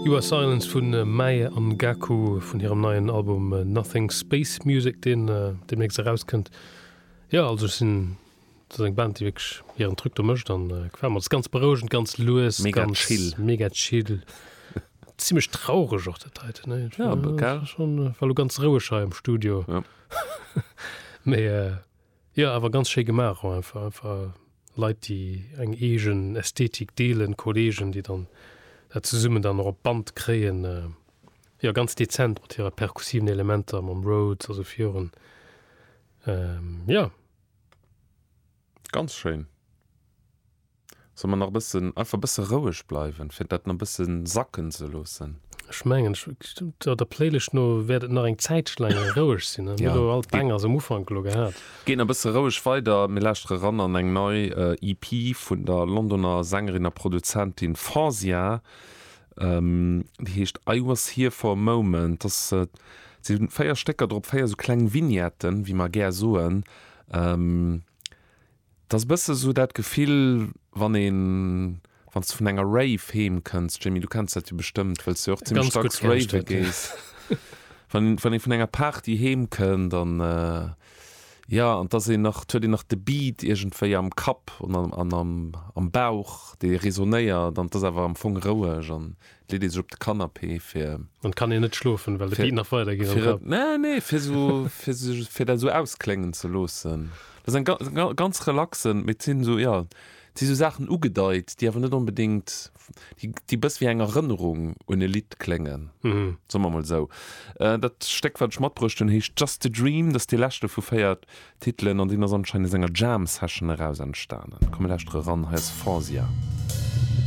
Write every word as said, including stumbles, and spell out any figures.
You Are Silence vun Mae Angaku vun hirem neien Album Nothing Space Music, deen deemnächst erauskënnt. Jo, also ech sinn, dat ass eng Band, déi wierklech hiren Truc do mécht an gefält mer. Et ass ganz berouegend, ganz lues, Mega ganz chill. mega chill. Zimmlech traureg och dat heiten, ne? Ja, gell? Schon, war lo ganz roueg hei am Studio. Ja. Mee jo, awer ganz schéi gemaach och einfach, einfach Leit déi eng eegen Ästhetik deelen, Kollegen déi dann dat zesummen dann och op Band kréien. Jo, ganz dezent mat hire perkussiven Elementer, mam Rhodes a sou virun. Jo. Ganz schéin. Solle mer nach e bëssen, einfach e bësse roueg bleiwen, fir dat nach e bësse sacken ze loossen? Ech mengen, der Playlist no wäert et nach eng Zäitche laang roueg sinn. Mir hu all d'Bangers am Ufank elo gehat. Geet nach e bësse roueg weider. Mir lauschtere ran an eng nei E P vun der Londoner Sängerin a Produzentin Fauzia. Déi heescht I Was Here For A Moment. Dat si véier Stécker drop, véier esou kleng Vignetten, wéi mer gär soen. 't ass e bësse sou dat Gefill, wann een, wann s de vun enger Rave heem kënns, Jamie, du kenns dat jo bestëmmt, well s du jo och zimmlech Ganz gutt dacks kenn ech rave dat, ja. gees. Wann, wann ee vun enger Party heem kënnt an, jo, an 't ass een nach, 't huet een nach de Beat iergendwéi am Kapp an am, an am, am Bauch, dee resonéiert an 't ass awer am Fong roueg an 't leet ee sech op de Canapé fir. An 't kann een net schlofen, well de Fir, Beat nach weidergeet am fir et, Kapp. nee, nee, fir sou, fir sech, fir dat sou auskléngen ze loossen. Dat ass eng ganz relaxen, mee et sinn esou, jo, et si sou Saachen ugedeit, déi awer net onbedéngt, déi, déi bëss wéi eng Erënnerung un e Lidd kléngen, soe mer mol esou. Dat Stéck, wat ech matbruecht hunn, heescht Just a Dream, dat ass dee leschte vu véier Titelen an deen ass anscheinend aus enger Jam Session eraus entstanen. Komm mir lauschtere ran, hei ass Fauzia.